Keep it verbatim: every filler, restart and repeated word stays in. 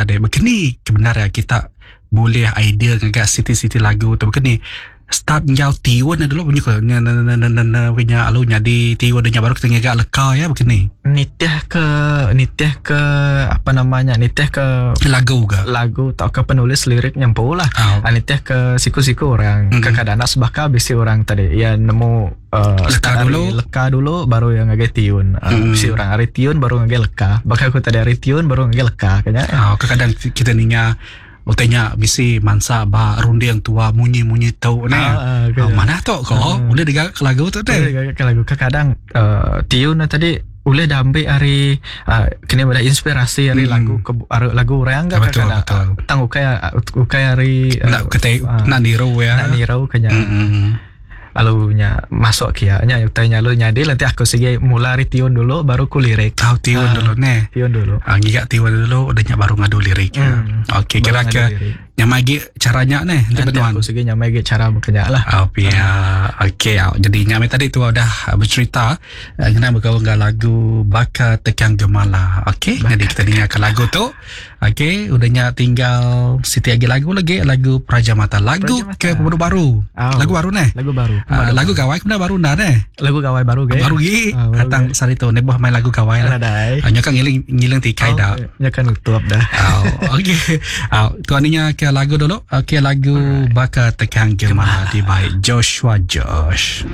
tadi. Begini kebenar ya kita boleh idea ngaga siti-siti lagu tu begini. Start enggau tiun dulu bunyi ko nya na na na na na punya lalu nyadi tiun nya baru kita ngaga leka ya begini. Nitih ke nitih ke apa namanya nitih ke lagu ke lagu atau ke penulis lirik nyempu lah. Oh. Nitih ke siku-siku orang Mm-mm. mm-hmm. Kadang sebaka bisi orang tadi ya nemu uh, Leka start dulu. ari leka dulu baru yang ngagai tiun. Uh, Mm. Bisi orang ari tiun baru ngagai leka. Bakal aku tadi ari tiun baru ngagai leka kayaknya. Oh, kadang kita ninga utainya bisi mansa ba runding tua munyi-munyi tu ne. Ah, ah, Oh, mana tu ko Ah. boleh digaga ke lagu tu Boleh teh. digaga ke lagu kadang uh, tiun na tadi boleh dah ambil hari uh, kena ada inspirasi hari Hmm. lagu ke ari lagu orang ke Betul, kadang betul. tang ukai ukai hari uh, Nak kita ah, nak niru ya. nak niru kenya Mm-mm. lalu nya masuk kia nya utai nya lalu nyadi nanti aku sige mula hari tiun dulu baru ku lirik Tahu tiun Ah. dulu ne. tiun dulu. Ah, ngiga tiun dulu udah nya baru ngadu lirik. Hmm. Okey, kira Baru ke ngadu lirik. nyamai gi caranya ne nanti Nanti benuan. aku sige nyamai ge cara bekerja lah. Oh, ya. Okey, ah, jadi nyamai tadi tu udah ah, bercerita ah, kena bergaul dengan lagu Baka Tekang Gemala. Okey, jadi kita dengarkan lagu tu. Okey, udahnya tinggal siti lagi lagu lagi lagu Praja Mata. Lagu Praja Mata. ke pemadu baru. Oh. Lagu baru ne. Lagu baru. Ah, lagu gawai kemudian baru dah ne. Lagu gawai baru ge. Baru gi Ah, baru datang sari tu ne buah main lagu gawai lah. Nadai. Ah, nya kan ngiling ngiling tikai dah. Ya kan tutup dah. Oh, okey. Oh, tuan ni ke lagu dulu. Okey, lagu Baka Tekang Gemala di by Joshua Josh.